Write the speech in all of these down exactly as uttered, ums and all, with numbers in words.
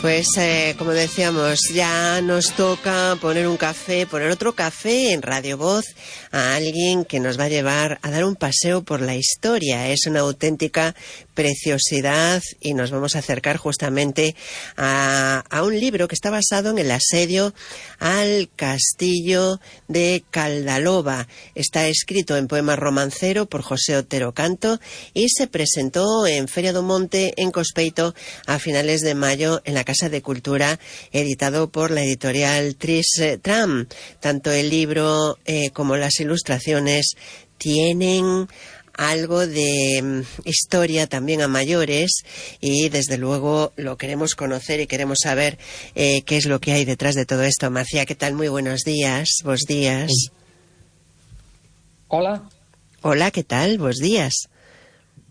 Pues eh, como decíamos, ya nos toca poner un café, poner otro café en Radio Voz a alguien que nos va a llevar a dar un paseo por la historia. Es una auténtica preciosidad y nos vamos a acercar justamente a, a un libro que está basado en el asedio al castillo de Caldaloba. Está escrito en poema romancero por José Otero Canto y se presentó en Feria do Monte en Cospeito a finales de mayo en la Casa de Cultura, editado por la editorial Tris Tram. Tanto el libro eh, como las ilustraciones tienen algo de um, historia también a mayores y desde luego lo queremos conocer y queremos saber eh, qué es lo que hay detrás de todo esto. Macía, ¿qué tal? Muy buenos días. Vos días. Hola. Hola, ¿qué tal? Vos días.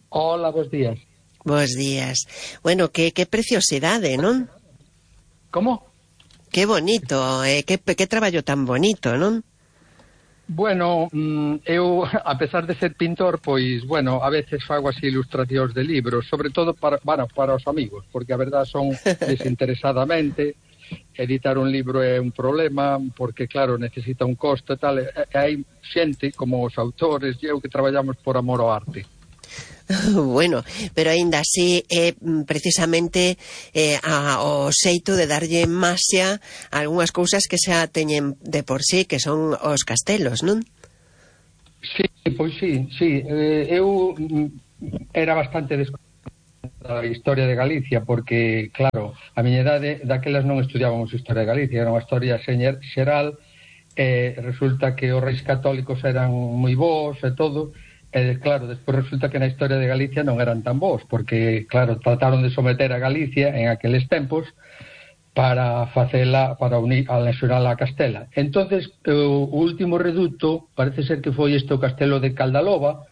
Hola, vos días. Bos días. Bueno, que, que preciosidade, non? Como? Que bonito, eh, que, que traballo tan bonito, non? Bueno, eu, a pesar de ser pintor, pois, bueno, a veces fago así ilustracións de libros, sobre todo para, bueno, para os amigos, porque a verdad son desinteresadamente. Editar un libro é un problema, porque, claro, necesita un costo e tal, e hai xente, como os autores e eu, que traballamos por amor ao arte. Bueno, pero aínda así é eh, precisamente eh, a, o xeito de darlle maxia a algunhas cousas que xa teñen de por sí, que son os castelos, non? Sí, pois sí, sí. Eh, eu era bastante desconhecida da historia de Galicia, porque, claro, a miña idade, daquelas non estudiábamos historia de Galicia, era unha historia xeral, e eh, resulta que os reis católicos eran moi bons e todo. E, claro, despois resulta que na historia de Galicia non eran tan bons, porque, claro, trataron de someter a Galicia en aqueles tempos para facela, para unir, anexionala a Castela. Entonces, o último reduto parece ser que foi este o castelo de Caldaloba,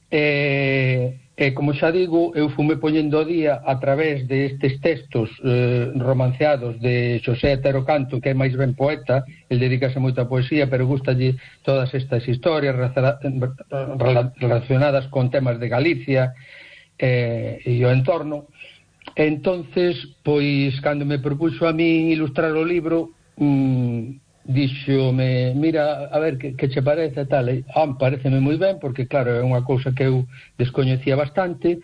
e, e como xa digo, eu fume poñendo o día a través destes textos eh, romanceados de Xosé Otero Canto, que é máis ben poeta, el dedícase moito a poesía, pero gustalle todas estas historias relacionadas con temas de Galicia eh, e o entorno. Entonces, pois, cando me propuxo a mí ilustrar o libro, mmm, díxome, mira, a ver, que, que che parece tal, e, ah, pareceme moi ben, porque claro, é unha cousa que eu descoñecía bastante,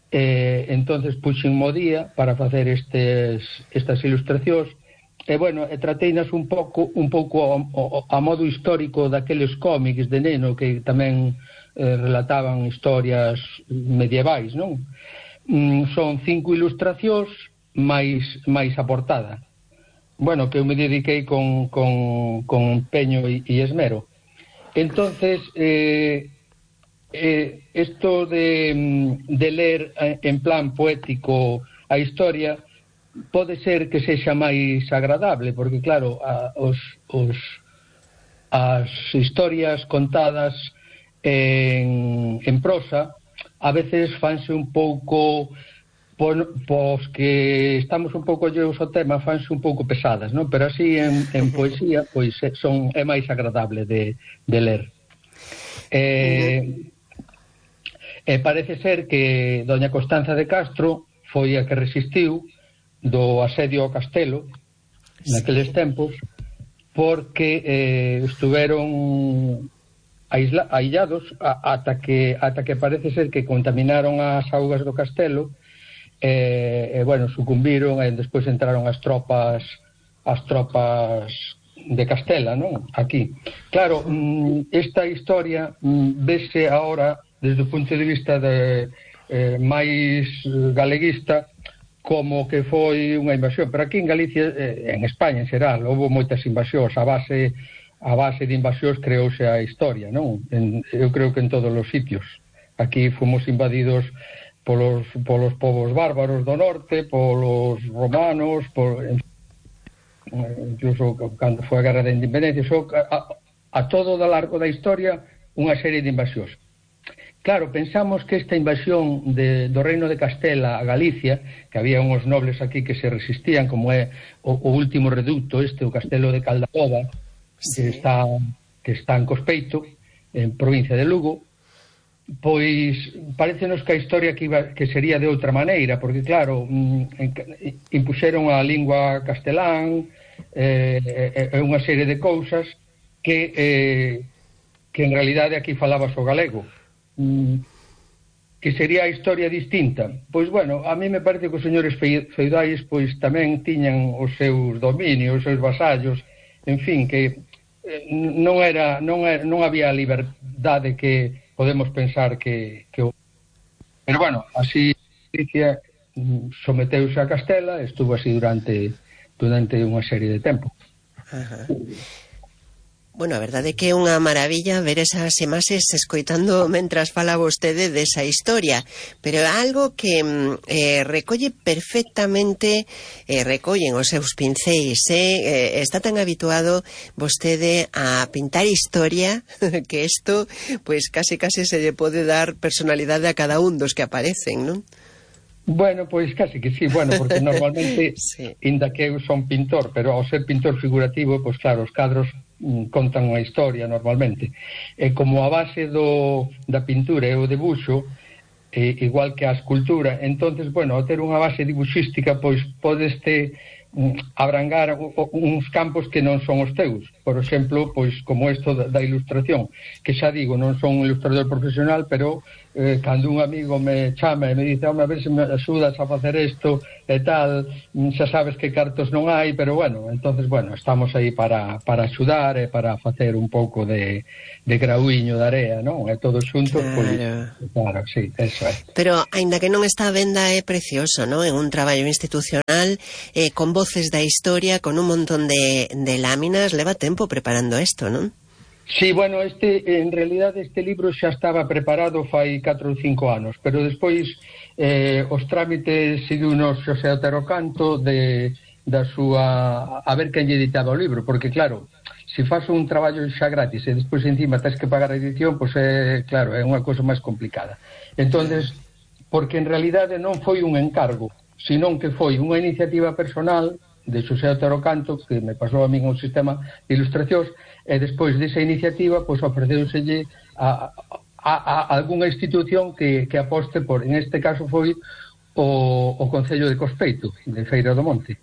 e entonces puxen mo día para facer estes, estas ilustracións, e bueno, e trateinas un pouco un pouco a, a, a modo histórico daqueles cómics de neno que tamén eh, relataban historias medievais, non? Mm, son cinco ilustracións máis, máis a portada. Bueno, que eu me dediquei con, con, con empeño e, e esmero. Entonces, eh, eh, esto de, de ler en plan poético a historia pode ser que sexa máis agradable, porque, claro, a, os, os, as historias contadas en, en prosa a veces fanse un pouco... Pois que estamos un pouco lleos ao tema, fanse un pouco pesadas, non? Pero así en, en poesía, pois son, é máis agradable de, de ler. Eh, e parece ser que doña Constanza de Castro foi a que resistiu do asedio ao castelo naqueles tempos, porque eh, estuveron aisla, aillados a, ata, que, ata que parece ser que contaminaron as augas do castelo. E, e bueno, sucumbiron e despois entraron as tropas as tropas de Castela, non? Aquí. Claro, esta historia vese agora desde o punto de vista de, eh, máis galeguista como que foi unha invasión, pero aquí en Galicia, eh, en España en xeral, houve moitas invasións, a base a base de invasións creouse a historia, non? En, eu creo que en todos os sitios. Aquí fomos invadidos polos, polos povos bárbaros do norte, polos romanos, por, incluso cando foi a Guerra da Independencia, so, a, a todo o largo da historia unha serie de invasións. Claro, pensamos que esta invasión de, do Reino de Castela a Galicia, que había uns nobles aquí que se resistían, como é o, o último reducto este, o castelo de Caldaloba, sí, que está, que está en Cospeito, en provincia de Lugo, pois parecenos que a historia que, iba, que sería de outra maneira, porque claro, impuxeron a lingua castelán e eh, eh, unha serie de cousas que eh, que en realidade aquí falabas o galego, mm, que sería a historia distinta. Pois bueno, a mí me parece que os señores feudais pois tamén tiñan os seus dominios, os seus vasallos, en fin, que eh, non era non era, non había a liberdade que podemos pensar que, que... Pero bueno, así Galicia someteuse a Castela, estuvo así durante durante unha serie de tempo. Ajá. Bueno, a verdade é que é unha maravilla ver esas imaxes escoitando mentras fala vostede desa historia, pero é algo que eh, recolle perfectamente, eh, recollen os seus pincéis, eh, está tan habituado vostede a pintar historia que isto, pues casi casi se lle pode dar personalidade a cada un dos que aparecen, non? Bueno, pois casi que sí, bueno, porque normalmente, sí. Inda que eu son pintor, pero ao ser pintor figurativo, pois claro, os cadros mm, contan unha historia normalmente. E como a base do, da pintura é o debuxo, eh, igual que a escultura, entonces, bueno, ao ter unha base dibuxística, pois podeste mm, abrangar o, o, uns campos que non son os teus. Por exemplo, pois como isto da, da ilustración, que xa digo, non son un ilustrador profesional, pero eh, cando un amigo me chama e me dice, home, a ver se me axudas a facer isto e tal, xa sabes que cartos non hai, pero bueno, entonces, bueno, estamos aí para, para axudar e para facer un pouco de, de grauiño de area, non? E todos xuntos, claro. Pois, claro, sí, eso é. Pero, aínda que non está a venda, é precioso, non? En un traballo institucional, eh, con voces da historia, con un montón de, de láminas, leva tempo preparando isto, non? Sí, bueno, este, en realidade este libro xa estaba preparado fai catro ou cinco anos, pero despois eh, os trámites seguiunos Xosé Otero Canto de, da súa... a ver quen lle editaba o libro, porque claro, se faz un traballo xa gratis e despois encima tens que pagar a edición, pois é, claro, é unha cousa máis complicada. Entonces, porque en realidade non foi un encargo, senón que foi unha iniciativa personal de Xosé Otero Canto, que me pasou a min un sistema de ilustracións, e despois desa iniciativa, pois ofreceuselle a, a, a algunha institución que, que aposte por, en este caso foi o, o Concello de Cospeito, de Feira do Monte,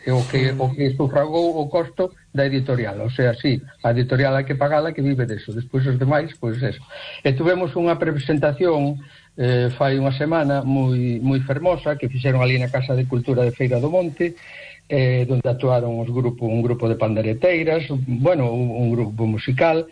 e o que, o que sufragou o costo da editorial, o sea, sí, a editorial hai que pagala, que vive deso, despois os demais, pois eso. E tuvemos unha presentación eh, fai unha semana moi, moi fermosa, que fixeron ali na Casa de Cultura de Feira do Monte, eh, donde actuaron os grupo, un grupo de pandereteiras, bueno, un, un grupo musical,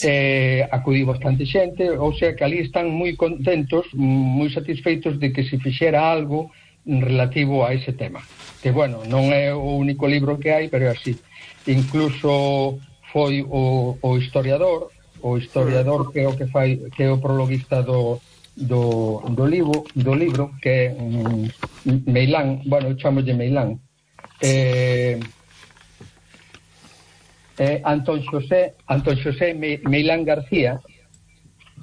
eh, acudí bastante xente, ou sea que ali están moi contentos, moi satisfeitos de que se fixera algo relativo a ese tema, que bueno, non é o único libro que hai, pero é así. Incluso foi o, o historiador, o historiador que é o que fai, que é o prologuista do do, do libro, do libro que é um, Meilán, bueno, eu chamolle Meilán. Eh, eh, Antón Xosé Antón Xosé Meilán García,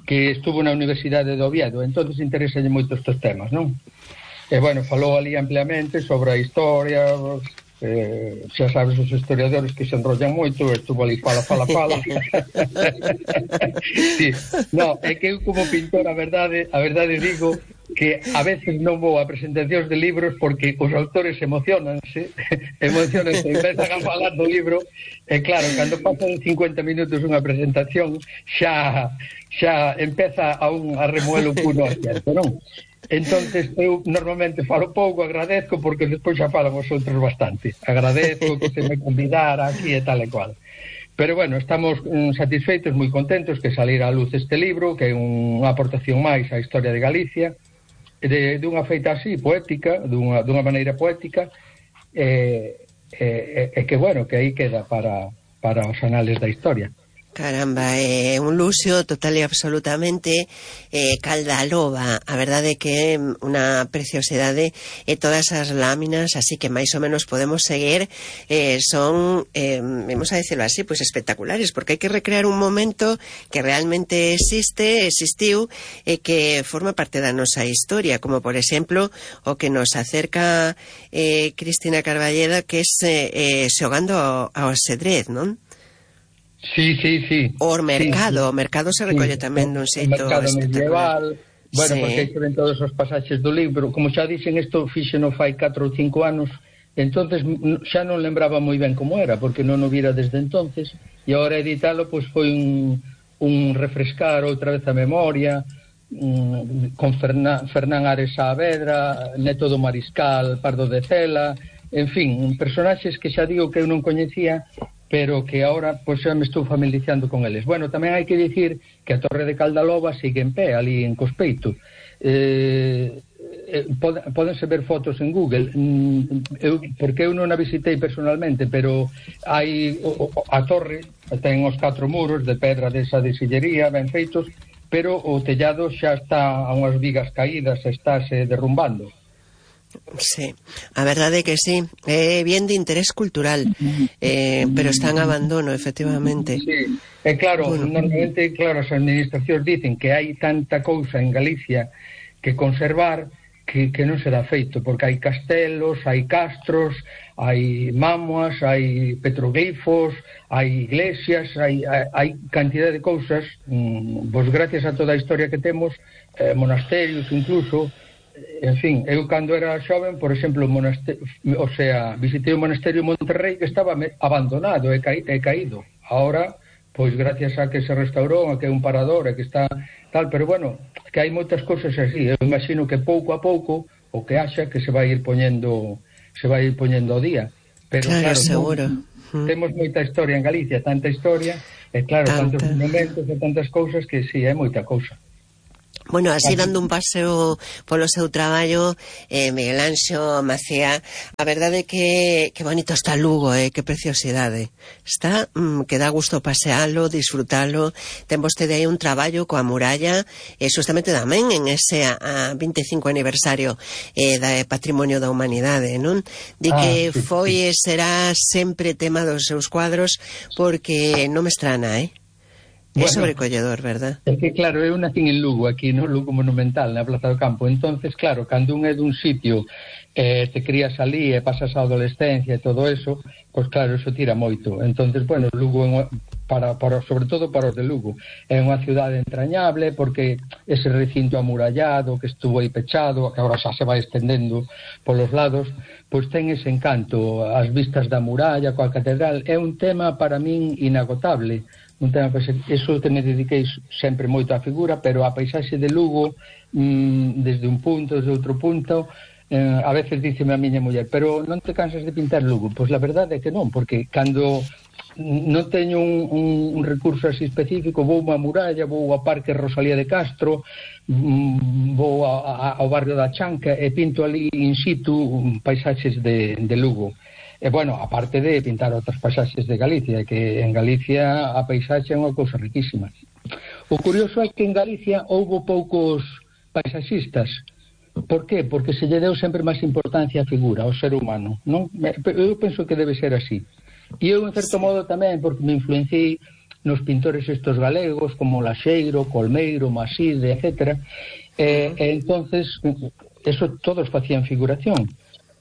que estuvo na Universidade de Oviedo, entonces interesalle moito estes temas, non? E bueno, falou ali ampliamente sobre a historia, eh, xa sabes os historiadores que se enrollan moito, estuvo ali fala, fala, fala. Sí, no, é que eu como pintor a verdade, a verdade digo que a veces non vou a presentacións de libros porque os autores emocionanse, emocionanse, empezan a falar do libro, e claro, cando pasan cincuenta minutos unha presentación, xa xa empeza a un a remoelo puno cierto, non? Entonces eu normalmente falo pouco, agradezco, porque despois xa falan os outros bastante. Agradezco que se me convidara aquí e tal e cual. Pero bueno, estamos mm, satisfeitos, moi contentos que salira a luz este libro, que é unha aportación máis á historia de Galicia, de, de unha feita así, poética, dunha, dunha maneira poética, e, e, e que bueno, que aí queda para, para os anales da historia. Caramba, é eh, un luxo total e absolutamente eh, calda a loba. A verdade é que é unha preciosidade e todas as láminas, así que máis ou menos podemos seguir, eh, son, eh, vamos a decirlo así, pues espectaculares, porque hai que recrear un momento que realmente existe, existiu, e que forma parte da nosa historia, como por exemplo o que nos acerca eh, Cristina Carballeda, que é eh, xogando ao, ao xedrez, non? Sí, sí, sí. O o mercado, sí, o mercado se recolle sí, tamén dun xeito mercado espectacular. medieval, bueno, Sí. porque aí se ven todos os pasaxes do libro. Como xa dixen, isto fixeno fai catro ou cinco anos, entonces xa non lembraba moi ben como era, porque non o vira desde entonces, e agora editalo pois foi un, un refrescar outra vez a memoria, um, con Fernán, Fernán Ares Saavedra, neto do Mariscal, Pardo de Cela, en fin, personaxes que xa digo que eu non coñecía, pero que agora pois xa me estou familiarizando con eles. Bueno, tamén hai que dicir que a Torre de Caldaloba sigue en pé, ali en Cospeito. Eh, eh, pod, podense ver fotos en Google, mm, eu, porque eu non a visitei personalmente, pero hai o, o, a torre, ten os catro muros de pedra desa de sillería, ben feitos, pero o tellado xa está a unhas vigas caídas, estáse derrumbando. Sí, a verdade é que sí, é bien de interés cultural, eh, pero está en abandono, efectivamente. Sí, é claro, Bueno. normalmente, claro, as administracións dicen que hai tanta cousa en Galicia que conservar que, que non se dá feito, porque hai castelos, hai castros, hai mámoas, hai petroglifos, hai iglesias, hai, hai, hai cantidad de cousas, mmm, pois gracias a toda a historia que temos, eh, monasterios incluso. En fin, eu cando era xoven, por exemplo, o monasterio, o sea, visitei o monasterio de Monterrey que estaba abandonado e, ca, e caído. Ahora, pois gracias a que se restaurou, a que é un parador, a que está tal, pero bueno, que hai moitas cousas así. Eu imagino que pouco a pouco o que haxa que se vai ir poñendo se vai ir poñendo ao día. Pero claro, claro, seguro. Non, temos moita historia en Galicia, tanta historia, e claro, Tanta. tantos monumentos e tantas cousas que sí, é moita cousa. Bueno, así dando un paseo polo seu traballo, eh, Miguel Anxo Macía, a verdade é que, que bonito está Lugo, eh, que preciosidade. Está, mm, que dá gusto pasealo, disfrutalo. Ten vostede aí un traballo coa muralla, e eh, justamente tamén en ese a, a veinticinco aniversario eh, da Patrimonio da Humanidade, non? Di Ah, que sí, foi sí. e será sempre tema dos seus cuadros, porque non me estrana, eh? É bueno, sobrecolledor, verdad? É que, claro, eu nací en Lugo, aquí no Lugo Monumental, na Plaza do Campo. Entonces, claro, cando un é dun sitio, eh, te crías ali e pasas a adolescencia e todo eso, pois claro, eso tira moito. Entonces, bueno, Lugo, para, para, sobre todo para os de Lugo, é unha cidade entrañable, porque ese recinto amurallado que estuvo aí pechado, que agora xa se vai estendendo polos lados, pois ten ese encanto. As vistas da muralla coa catedral é un tema para min inagotable. Un tema, pues, eso que me dediquei sempre moito á figura, pero a paisaxe de Lugo, mmm, desde un punto, desde outro punto, eh, a veces díceme a miña muller, pero non te cansas de pintar Lugo? Pois la verdade é que non, porque cando non teño un, un, un recurso así específico, vou a muralla, vou ao Parque Rosalía de Castro, mmm, vou a, a, ao barrio da Chanca e pinto ali in situ paisaxes de, de Lugo. E, bueno, aparte de pintar outras paisaxes de Galicia, que en Galicia a paisaxe é unha cousa riquísima. O curioso é que en Galicia houbo poucos paisaxistas. Por qué? Porque se lle deu sempre máis importancia á figura, ao ser humano, non? Eu penso que debe ser así. E eu, en certo modo, tamén, porque me influenciei nos pintores estos galegos, como Laxeiro, Colmeiro, Maside, etcétera. E, e entonces, eso todos facían figuración.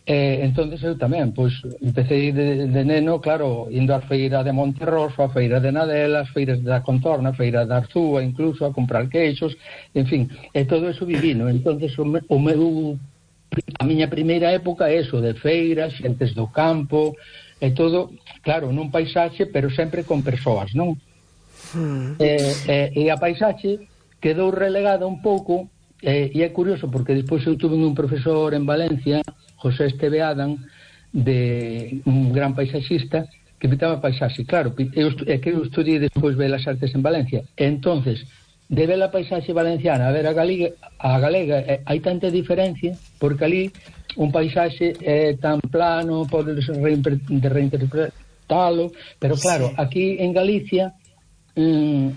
Eh, entonces eu tamén, pois, empecé de, de neno, claro, indo á feira de Monterroso, a feira de Nadela, as feiras da Contorna, a feira de Arzúa, incluso a comprar queixos, en fin, e todo eso vivino. Entonces o, me, o meu, a miña primeira época é eso, de feiras, xentes do campo, e todo, claro, nun paisaxe, pero sempre con persoas, non? Mm. E, e, e a paisaxe quedou relegada un pouco, e, e é curioso, porque despois eu tuve un profesor en Valencia, José Esteve Adam, de un gran paisaxista, que pintaba paisaxe. Claro, eu, é que eu estudiei despois Belas Artes en Valencia. Entonces, de ver a paisaxe valenciana a ver a galega, a galega eh, hai tanta diferencia, porque ali un paisaxe é tan plano, pode reimpre, de reinterpretalo, pero claro, aquí en Galicia mmm,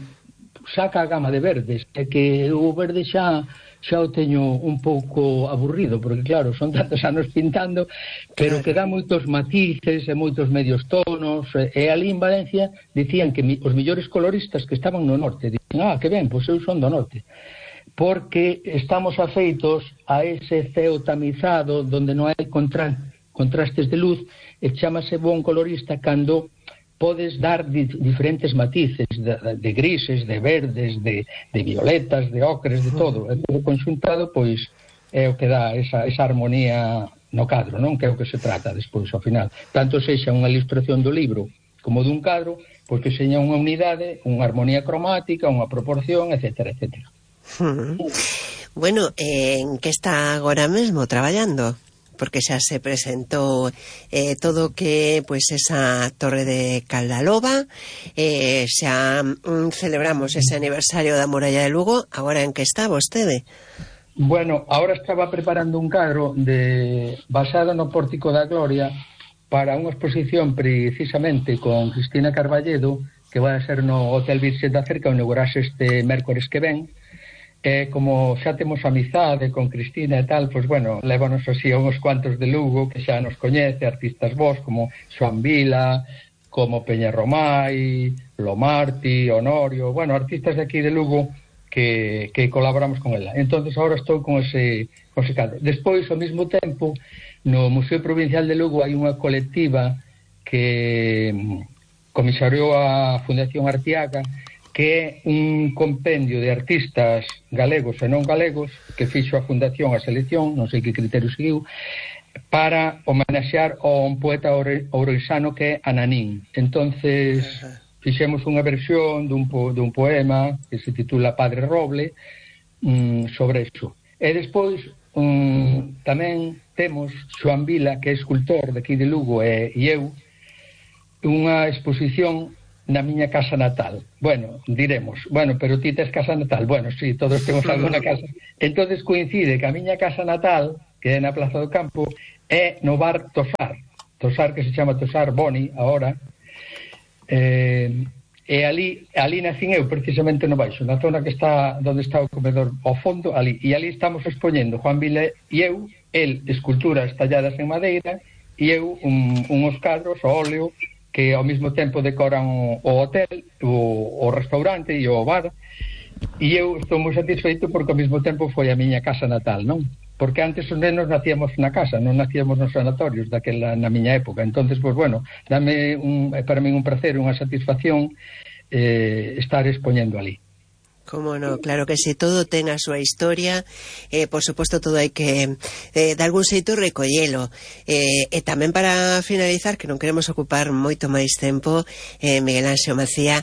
saca a gama de verdes, é que o verde xa xa o teño un pouco aburrido, porque claro, son tantos anos pintando, pero que dá moitos matices e moitos medios tonos, e, e ali en Valencia dicían que mi, os millores coloristas que estaban no norte, dicían, ah, que ben, pois eu son do norte, porque estamos afeitos a ese ceo tamizado donde non hai contra, contrastes de luz, e chámase bon colorista cando podes dar di, diferentes matices de, de grises, de verdes, de, de violetas, de ocres, de todo, e todo conxuntado, pois é o que dá esa, esa armonía no cadro, non? Que é o que se trata despois ao final, tanto sexa unha ilustración do libro como dun cadro, pois que seña unha unidade, unha armonía cromática, unha proporción, etcétera, etcétera. Bueno, eh, en que está agora mesmo traballando? Porque xa se presentou eh, todo que pois esa Torre de Caldaloba, eh, xa mm, celebramos ese aniversario da Muralla de Lugo. Agora en que está vostede? Bueno, ahora estaba preparando un cadro de basado no Pórtico da Gloria para unha exposición precisamente con Cristina Carballedo, que vai a ser no Hotel Virxe da Cerca, onde inaugurase este mércores que ven. E como xa temos amizade con Cristina e tal, pois bueno, lévanos así a uns cuantos de Lugo que xa nos coñece, artistas vos como Xoan Vila, como Peña Romai, Lomarti, Honorio, bueno, artistas de aquí de Lugo que, que colaboramos con ela. Entonces ahora estou con ese, con ese cadro. Despois, ao mesmo tempo, no Museo Provincial de Lugo hai unha colectiva que comisariou a Fundación Artiaga, que é un compendio de artistas galegos e non galegos que fixo a Fundación a selección, non sei que criterio seguiu, para homenaxear a un poeta ourensano que é Ananín. Entonces fixemos unha versión dun, po, dun poema que se titula Padre Roble, um, sobre iso. E despois um, tamén temos Xoan Vila, que é escultor de aquí de Lugo, e, e eu, unha exposición na miña casa natal. Bueno, diremos, bueno, pero ti tes casa natal. Bueno, sí, todos temos alguna casa. Entonces coincide que a miña casa natal, que é na Plaza do Campo, é no bar Tosar. Tosar, que se chama Tosar Boni, agora. Eh, e ali, ali nacín eu, precisamente no baixo, na zona que está, onde está o comedor, ao fondo, ali. E ali estamos expoñendo Xoan Vila e eu, el, esculturas talladas en madeira, e eu, un, uns cadros, o óleo, que ao mesmo tempo decoran o, o hotel, o, o restaurante e o bar, e eu estou moi satisfeito porque ao mesmo tempo foi a miña casa natal, non? Porque antes os nenos nacíamos na casa, non nacíamos nos sanatorios daquela na miña época. Entonces, pues bueno, dame un, para mí un placer, unha satisfacción eh, estar expoñendo ali. Como no, claro que si, todo ten a súa historia, eh, por suposto todo hai que eh, de algún xeito recollelo, eh, e tamén para finalizar, que non queremos ocupar moito máis tempo, eh, Miguel Anxo Macía,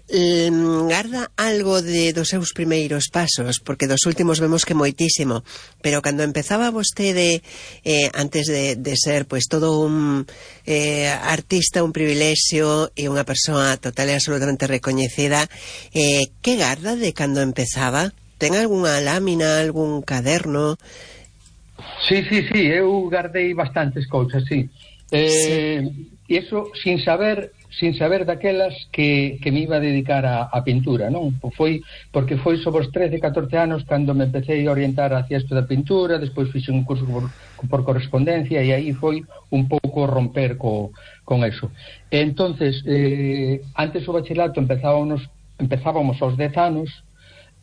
eh, garda algo de dos seus primeiros pasos, porque dos últimos vemos que moitísimo, pero cando empezaba vostede, eh, antes de, de ser pues todo un eh, artista, un privilexio e unha persoa total e absolutamente recoñecida, eh, que garda de cando empezaba? Ten algunha lámina, algún caderno? Sí, sí, sí, eu guardei bastantes cousas, sí. Eh, sí. E iso sin saber, sin saber daquelas que, que me iba a dedicar a, a pintura, non? Foi, porque foi sobre os trece, catorce anos cando me empecé a orientar hacia isto da pintura, despois fixe un curso por, por correspondencia e aí foi un pouco romper co, con eso. E entonces, eh, antes o bachelato empezábamos empezábamos aos dez anos,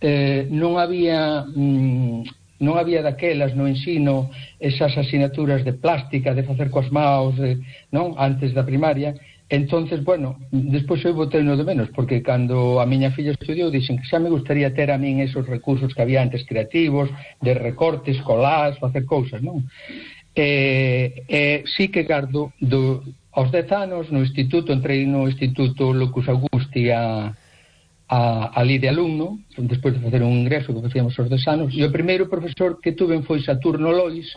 eh, non había mm, non había daquelas no ensino esas asignaturas de plástica, de facer coas maus, de, non, antes da primaria. Entonces, bueno, despois eu botei no de menos, porque cando a miña filla estudiou dixen que xa me gustaría ter a min esos recursos que había antes creativos, de recortes, colás, facer cousas, non? E, e sí que gardo do, aos dez anos no instituto, entrei no instituto Locus Augusti a A, ali de alumno, despois de facer un ingreso que facíamos aos dez anos, e o primeiro profesor que tuve foi Saturno Lois,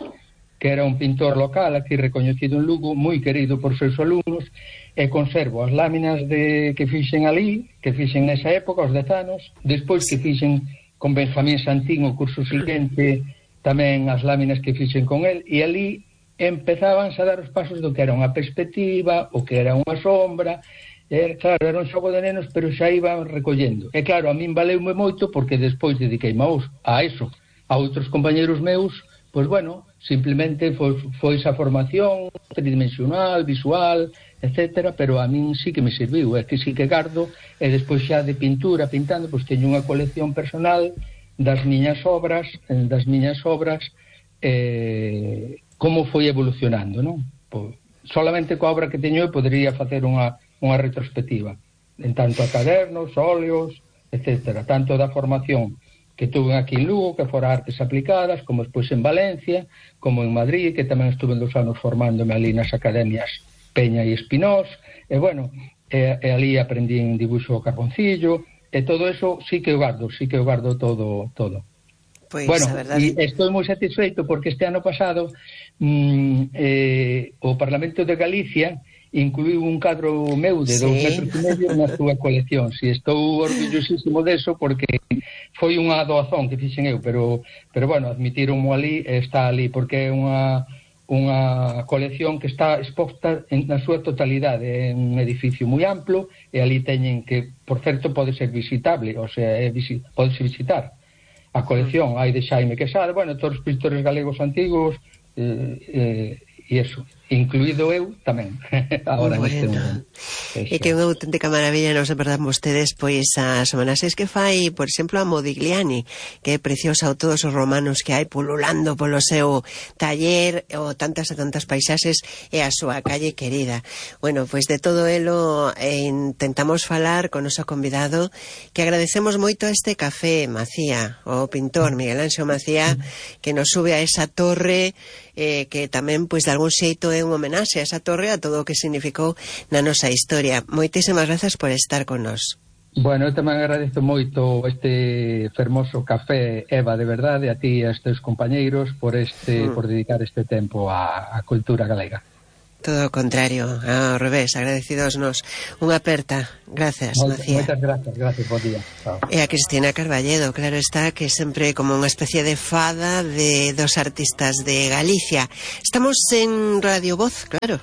que era un pintor local aquí recoñecido en Lugo, moi querido por seus alumnos, e conservo as láminas de, que fixen ali, que fixen nesa época, aos dez anos, despois que fixen con Benjamín Santín o curso seguinte, tamén as láminas que fixen con el, e ali empezaban a dar os pasos do que era unha perspectiva, o que era unha sombra. E, claro, era un xogo de nenos, pero xa iban recollendo. E claro, a min valeume moito porque despois dediqueime a eso. A outros compañeros meus, pois bueno, simplemente foi, foi esa formación tridimensional, visual, etcétera, pero a min sí que me serviu, é que sí que gardo, e despois xa de pintura, pintando, pois teño unha colección personal das miñas obras, das miñas obras, eh, como foi evolucionando, non? Pois, solamente coa obra que teño eu podería facer unha unha retrospectiva, en tanto a cadernos, óleos, etcétera, tanto da formación que tuve aquí en Lugo, que fora artes aplicadas, como despois en Valencia, como en Madrid, que tamén estuve dos anos formándome ali nas academias Peña e Espinós, e bueno, e, e ali aprendí en dibuixo carboncillo, e todo eso sí que o guardo, sí que o guardo todo, todo. Pois, bueno, e estou moi satisfeito porque este ano pasado mmm, eh, o Parlamento de Galicia incluiu un cadro meu de sí. dous metros e medio na súa colección. Si, estou orgullosísimo deso porque foi unha doazón que fixen eu, pero, pero bueno, admitironmo ali, está ali, porque é unha, unha colección que está exposta en, na súa totalidade, é un edificio moi amplo, e ali teñen que, por certo, pode ser visitable, o sea, é visi, podese visitar a colección, hai de Xaime Quesada, bueno, todos os pintores galegos antigos, eh, eh, e eso, incluído eu tamén. Agora bueno. neste momento. E que é unha auténtica maravilla, non se perdan vostedes, pois a semana seis que fai, por exemplo, a Modigliani, que é preciosa, o todos os romanos que hai pululando polo seu taller, o tantas e tantas paisaxes, e a súa calle querida. Bueno, pois de todo elo eh, intentamos falar con o noso convidado, que agradecemos moito este café, Macía, o pintor Miguel Anxo Macía, que nos sube a esa torre, eh, que tamén, pois, de algún xeito é un homenaxe a esa torre, a todo o que significou na nosa historia. Moitísimas grazas por estar con nós. Bueno, eu tamén agradezo moito este fermoso café, Eva, de verdade, a ti e a estes compañeiros por este mm. por dedicar este tempo á, á cultura galega. Todo o contrario, ao revés, agradecidos nos. Unha aperta. Gracias, Moitas, Macía. Moitas gracias, gracias, bo día. Chao. E a Cristina Carballedo, claro está, que sempre como unha especie de fada de dos artistas de Galicia. Estamos en Radio Voz, claro.